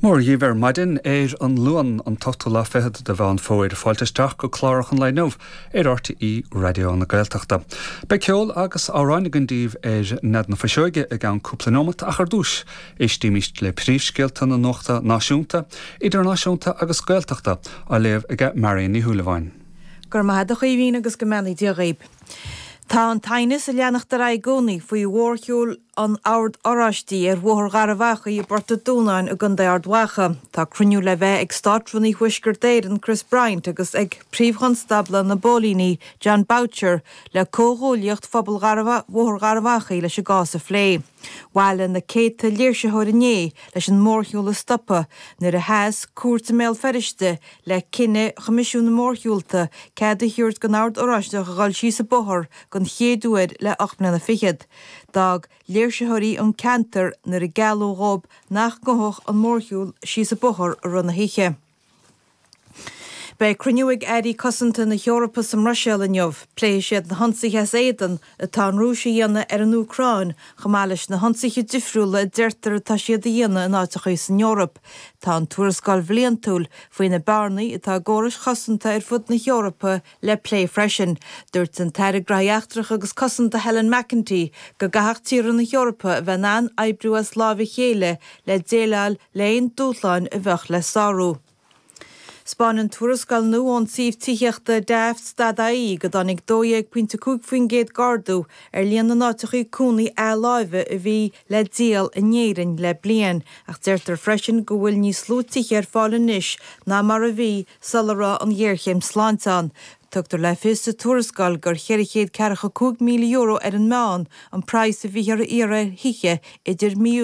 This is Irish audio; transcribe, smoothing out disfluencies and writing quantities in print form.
Mora dhaoibh ar maidin ar an Luan, an t-ochtú lá fichead de Mheán Fómhair. Fáilte isteach go cláracha an lae inniu ar RTÉ Raidió na Gaeltachta. Beidh ceol agus amhráin againn daoibh ar Nead na Fuiseoige i gceann cúpla neomat ach ar dtús, éistímís le príomhscéalta na nuachta náisiúnta, idirnáisiúnta agus Gaeltachta á léamh aige Marion Ní Shúilleabháin. Go raibh maith agat a Chaoimhín agus go mbeannaí Dia dhaoib. Tá an t-aighneas ag leanacht ar aghaidh i gcónaí faoi mhórshiúl an Oird Oráistigh ar Bhóthar Gharbh Achaidh i bPort an Dúnáin i gContae Ard Mhacha. Tá cruinniú le bheith ag Státrúnaí Thuaisceart Éireann Chris Bryant agus ag Príomh-Chonstábla na bPóilíní Jon Boutcher le Comhghuaillíocht Phobal Bhóthar Gharbh Achaidh leis an gcás a phlé. Bhailigh na céadta léirsitheoir inné leis an mórshiúl a stopadh nuair a sheas cúirt i mBéal Feirste le cinneadh Choimisiún na Mórshiúlta cead a thabhairt don Ord Oráisteach a dhul síos an bóthar den chéad uair le 8 mbliana fichead. D'fhág léirsitheoirí an ceantar nuair a gealladh dhóibh nach ngabhfadh an mórshiúl síos an bóthar i rith na hoíche. Beidh cruinniú ag airí cosanta na hEorpa sa mBruiséil inniu. Pléifidh siad na hionsaithe as éadan atá an Rúis a dhéanamh ar an Úcráin chomh maith leis na hionsaithe difriúla a deirtear atá siad a dhéanamh in áiteachaí san Eoraip. Tá an tuarascáil bhliantúil faoi na bearnaí atá i gcórais chosanta ar fud na hEorpa le plé freisin. Dúirt an tAire Graithí Eachtracha agus Cosanta Helen McEntee go gcaithfeadh tíortha na hEorpa a bheith in ann oibriú as láimh a chéile le déileáil le haon dúshláin a bheadh le sárú. 'Spáineann tuarascáil nua ón suíomh tithíochta Daft dot ie go dtáinig 12.5% d'ardú ar líon na n-áiteachaí cónaí athláimhe a bhí le díol in Éirinn le bliain ach deirtear freisin go bhfuil níos lú tithe ar fáil anois ná mar a bhí sula raibh an ghéarchéim sláinte ann. Tugtar le fios sa tuarascáil gur €445,000 ar an meán an praghas a bhíthear a iarraidh ar thithe idir mí.